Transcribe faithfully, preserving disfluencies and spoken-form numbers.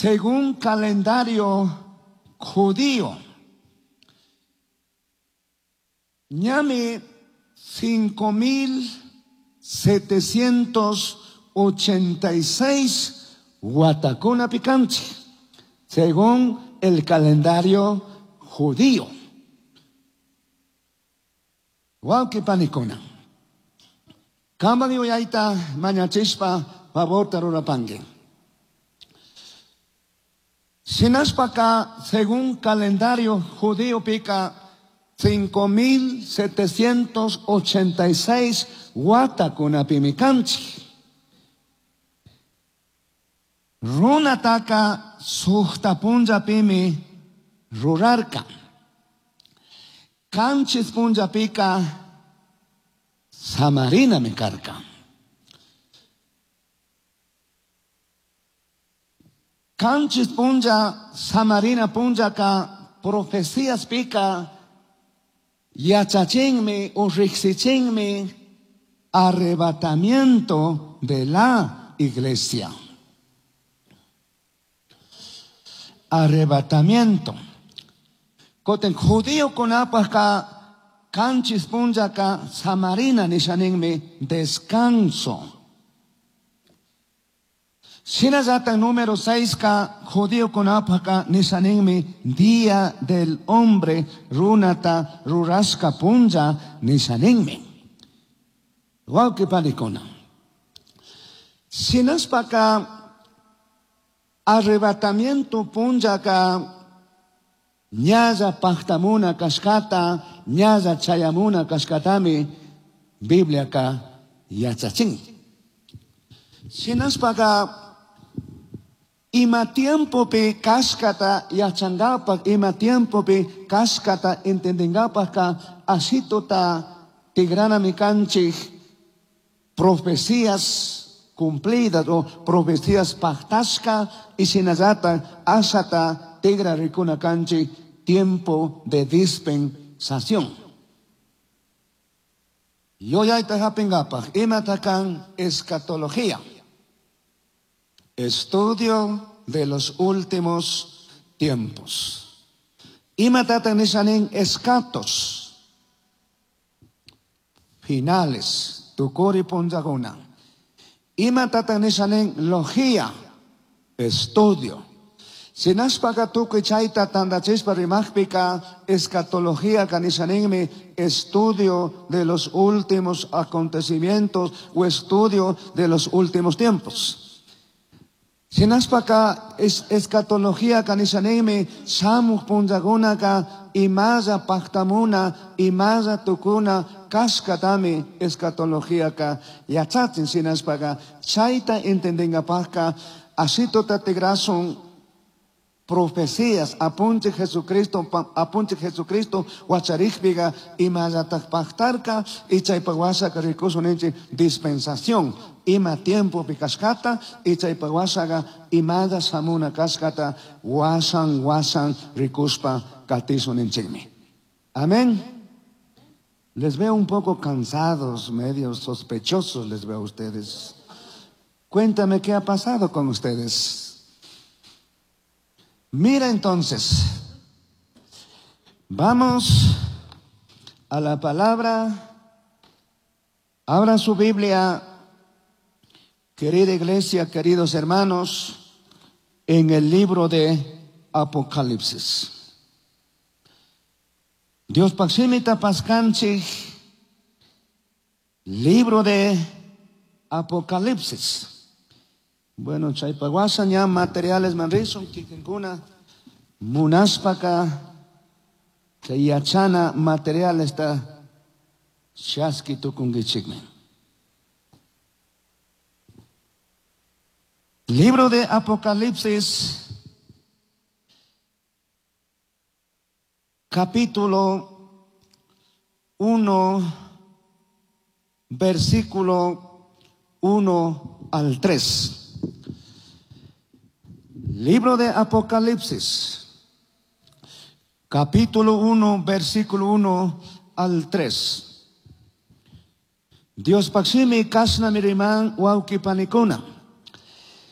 Según calendario judío, ñami cinco mil setecientos ochenta y seis watakuna pikanchik, según el calendario judío. Wawqi panikuna, Kamban yuyayta mañachishpa favorta rurapanki. Shinashpaka, según calendario judío pika, cinco mil setecientos ochenta y seis watakunapimi kanchik. Runataka suqta punllapimi rurarka. Kanchis punllapika samarinami karka. Kanchis punlla samarina punllaka profecías pika yachachinmi o riqsichinmi arrebatamiento de la iglesia. Arrebatamiento. Koten judío kunapajka kanchis punllaka samarina nishaninmi descanso. Shinallata número seis ka judío kunapajka nishaninmi día del hombre runata rurashka punlla nishaninmi. Wawqi panikuna. Shinashpaka arrebatamiento punllaka ñalla pajtamuna kashkata, ñalla chayamuna kashkatami Bibliaka yachachin. Shinashpaka ima tiempopi kashkata yachangapak, ima tiempopi kashkata entendengapakka asituta tigranami kanchik profecías cumplidas o profecías pactashka y shinallata ashata tigra rikuna kanchik tiempo de dispensación. Yoyayta hapingapak imata kan escatología, estudio de los últimos tiempos. Imata nishanin escatos finales, tukuri punllakuna. Imata nishanin logía, estudio. Sinashpaka tukuy chayta tandachishpa rimaqpika escatología kanishaninmi estudio de los últimos acontecimientos o estudio de los últimos tiempos. Sinashpaka es, escatología kanishaninmi shamuq punllakunaka imalla paqtamuna imalla tukuna kashkatami escatología ka yachachin. Sinashpaka chayta entendingapaqka asituta tigrasun profecías apunche Jesucristo, apunche Jesucristo wacharikpiga imallataq paqtarka y chaypaq washaqa rikusun ninchik dispensación ima tiempopi kashkata y chaypaq washaqa imalla shamuna kashkata wasan wasan rikuspa katisun ninchikmi. Amén. Les veo un poco cansados, medio sospechosos les veo a ustedes. Cuéntame qué ha pasado con ustedes. Mira entonces, vamos a la palabra. Abran su Biblia, querida iglesia, queridos hermanos, en el libro de Apocalipsis. Dios paximita pascanchik, libro de Apocalipsis. Bueno, chaypaguasa ña materiales manrison, kikinkuna, munaspaka, chayachana materiales ta shaski tukungichikme. Libro de Apocalipsis, capítulo uno, versículo uno al tres. Libro de Apocalipsis, capítulo uno, versículo uno al tres. Dios paximi kasna miriman wauki panikuna.